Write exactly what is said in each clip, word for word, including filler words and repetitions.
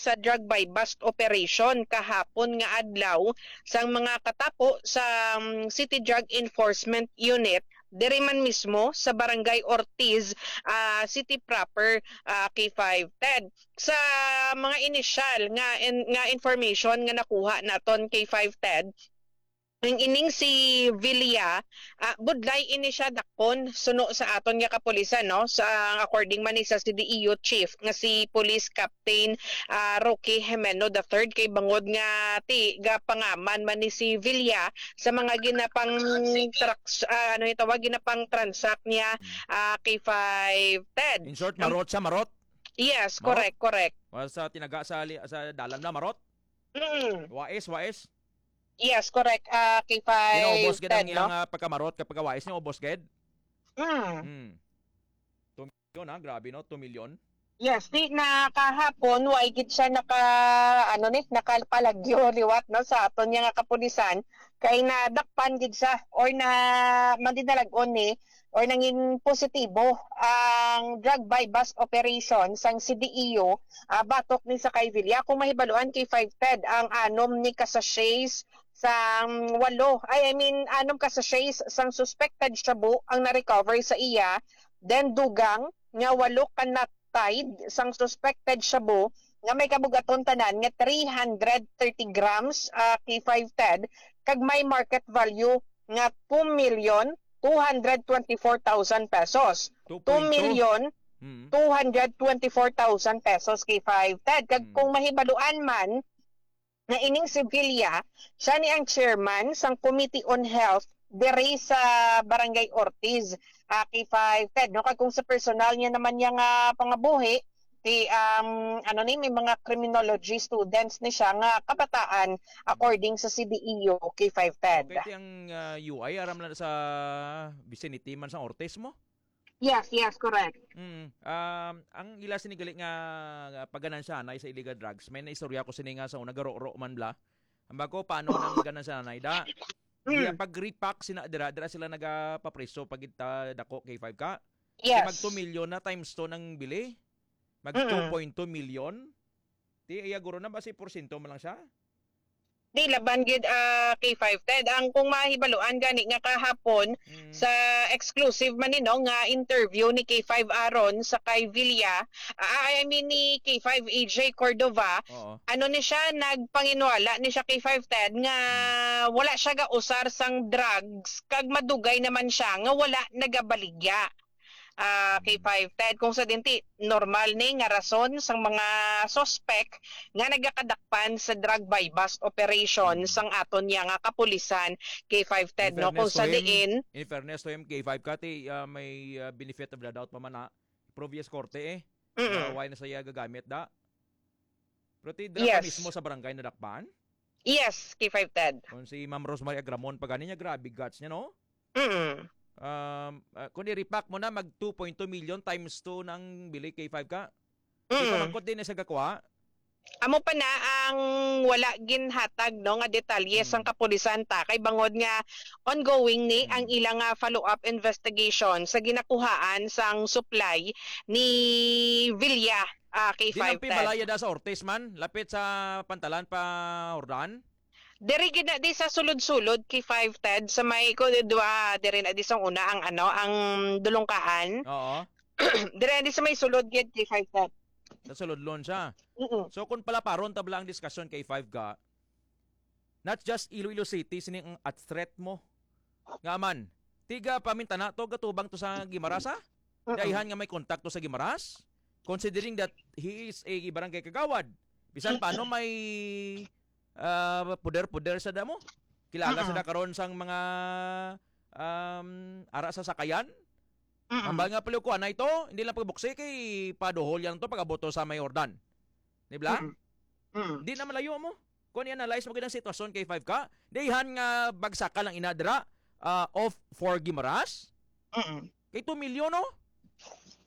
sa drug buy-bust operation kahapon nga adlaw sang mga katapo sa, um, City Drug Enforcement Unit diri man mismo sa Barangay Ortiz, ah, City proper, ah, K five Ted. Sa mga inisyal nga in-, nga information nga nakuha naton, K five Ted, ang ining si Villa, ah, budlay ini siya dakpon suno sa aton nga kapulisan, no? Sa, according man ni sa C D E U chief nga si Police Captain, ah, Roque Jimeno the third, kay bangod nga ti gapangaman man ni si Villa sa mga ginapang traks-, ah, ano yung tawag, ginapang transact niya, ah, K five Ted. In short, Ang marot siya, marot? Yes, Marot? correct, correct. Wa sa tinaga sa li-, sa dalan na, marot? Mm. Wais, wais. Yes, correct. Ah, K five Ten, gid ang no? iyang, ah, pagkamarot kag pagkawais niya, ubos gid. Mm. Hmm. Two million, ha? Grabe, no? Two million. Yes, di na kahapon, wa gid siya naka, ano ni, nakapalagyo liwat, no, sa aton niya nga kapulisan, kay nadakpan gid siya or na, mandinalag-on ni, or nangin positibo ang drug buy-bust operation sang C D E U, ah, batok ni sa kay Villa. Kung mahibaluan, K five Ted, ang anom ni ka sachets sa, mm, walo, ay, I mean, anom ka sachets sang suspected shabu ang na-recover sa iya, then dugang nga walo ka nut tide sang suspected shabu nga may kabugaton tanan nga three hundred thirty grams, ah, K five Ted, kag may market value nga two million two hundred twenty-four thousand pesos. Two point two. Two million Mm. two hundred twenty-four thousand pesos, K five Ted. Kag Mm. kung mahibaluan man, nga ining si Villa, siya ni ang chairman sang Committee on Health diri sa Barangay Ortiz, ah, K five Ted, no? Kag kung sa personal niya naman niya nga pangabuhi, ti, um, ano ni, may mga criminology students ni siya nga kabataan, according sa C D E U, K five Ted. Okay, ti ang, ah, U I, aram lang sa vicinity man sa Ortiz mo? Yes, yes, correct. Mm. Um, ang ila sini gali nga, nga pagganansyahanay sa illegal drugs, may naistorya ko sini nga sa una, garoro man bla. Ang bago, paano nang ganansyahanay da? Mm. Iya, pag repack sina dira, dira sila nagapapreso pag kita dako, K five ka. Yes. Mag two million na times two nang bili. Mag Mm. two point two million. Ti, iya guro na ba si porsyento man lang siya? Di, laban gid, ah, K five Ted. Ang kung mahibaluan gani nga kahapon Mm. sa exclusive man ni, no, nga interview ni K five Aaron sa kay Villa, ah, I mean ni K five A J Cordova, Oo. ano ni siya, nagpanginwala ni siya K five Ted nga Mm. wala siya gausar sang drugs kag madugay naman siya nga wala nagabaligya. Ah, K five Ted, kung sa dinti, normal ni nga rason sang mga suspek nga nagakadakpan sa drug buy-bust operation Mm. sang aton niya nga kapulisan, K five Ted, In no? Kung fairness sa to him, diin in fairness to him, K five ka, ti, ah, may, ah, benefit of the doubt pa man na. Previous korte, eh. Mm-mm. Ah, why na siya gagamit, da? Pero ti, dira pa Yes. mismo sa barangay nadakpan? Yes, K five Ted. Kung si Ma'am Rosemary Agramon, pa gani niya, grabe guts niya, no? Mm. Um, ah, kung i-repack mo na, mag two point two million times two nang bili, K five ka. Di pa Mm. mangkot din na sa gakwa? Amo pa na ang wala ginhatag, no, nga detalye sang Mm. kapulisan ta, kay bangod nga ongoing ni ang Mm. ilang, ah, follow-up investigation sa ginakuhaan sang supply ni Villa, ah, Di lang K five Ted. Pibalaya da sa Ortiz man, lapit sa pantalan pa Jordan? Diri gid na di sa sulod-sulod, K five Ted, sa may, ko, duwa, diri na di sa una ang, ano, ang dulungkaan. Oo. Diri na di sa may sulod gid, K five Ted. Sa sulod lon siya. Mm-mm. So, kung palaparon ta bala ang diskusyon, K five ka, not just Iloilo City, sini ang at threat mo. Nga man, tiga pamintana to, gatubang to sa Guimaras, ha? Mm-mm. Dayhan nga may kontakto sa Guimaras, considering that he is a barangay kagawad. Bisan paano may, ah, poder-poder sa damo. Kilala Mm-mm. sila karon sang mga, um, ara sa sakayan. Mm-mm. Hambal nga paliw ko, anay to, hindi lang pagbuksi kay paduhol yan to, pag-abot to sa may Jordan. Di ba? Mm-mm. Mm. Di na malayo mo. Kung i-analyze mo gid ang sitwasyon, K five ka, dayhan nga bagsakan lang ina dira, ah, off for Guimaras. Mm-mm. Kay two million, no?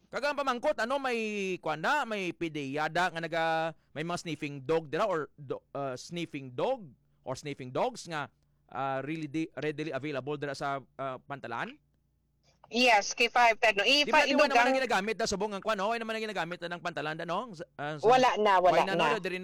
Kag ang pamangkot, ano, may, kuwan na, may pideyada nga naga, may mga sniffing dog dira or do-, ah, sniffing dog or sniffing dogs nga, ah, really di-, readily available dira sa, ah, pantalan? Yes, K five Ted, no? Di Ipa-, ba, di ba naman idugang ang ginagamit na subong ang kuwan, no? Ay naman ang ginagamit na ng pantalan, no? Sa, ah, sa Wala na, wala Wala na, na. no? Diri na